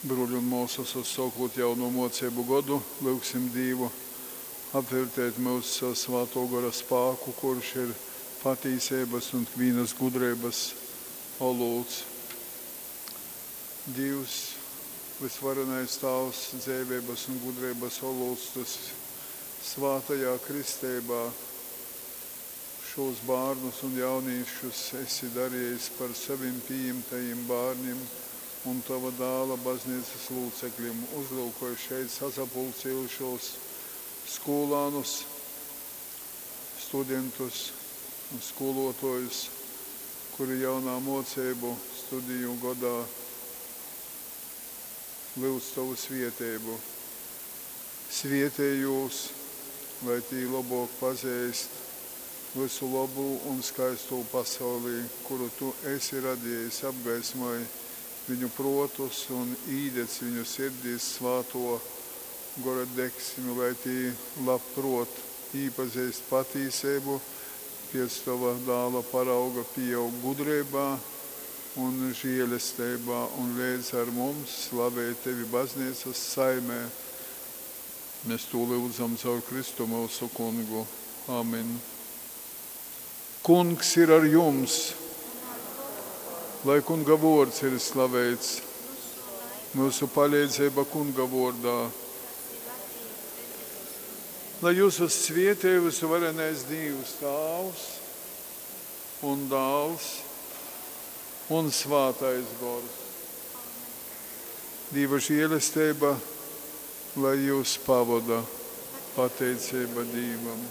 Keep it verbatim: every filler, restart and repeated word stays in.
Bruoļi un muosys, uzsuokūt jauno muoceibu godu, lyugsim Dīvu apveļteit myus savu Svātuo Gora spāku, kurš ir patīseibys un ikvīnys gudreibys olūts. Dīvs, vysvarenais Tāvs, dzeiveibys un gudreibys olūts, Tu svātajā kristeibā šūs bārnus un jaunīšus esi dariejis par sovim pījimtajim bārnim un Tova Dāla Bazneicys lūceklim. Uzlyukoj šeit sasapulciejušos skūlānus, studentus un skūluotuojus, kuri jaunā muoceibu studiju godā lyudz Tovu svieteibu. Svietej jūs, lai tī lobuok pazeist vysu lobū un skaistū pasaulī, kuru Tu esi radiejis, apgaismoj viņu pruotus un īdedz viņu sirdīs Svātuo Gora degsmi, lai tī labpruot īpazeist patīseibu, piec Tova Dāla parauga pīaug gudreibā un žielesteibā un leidz ar mums slavej Tevi Bazneicys saimē. Mēs tū lyudzam caur Kristu myusu Kungu. Amen. Kungs ir ar jums! Lai Kunga vuords ir slaveits, myusu paleidzeiba Kunga vuordā. Lai jyusus svietej vysuvarenais Dīvs Tāvs un Dāls un Svātais Gors. Dīva žielesteiba, lai jyus pavoda. Pateiceiba Dīvam.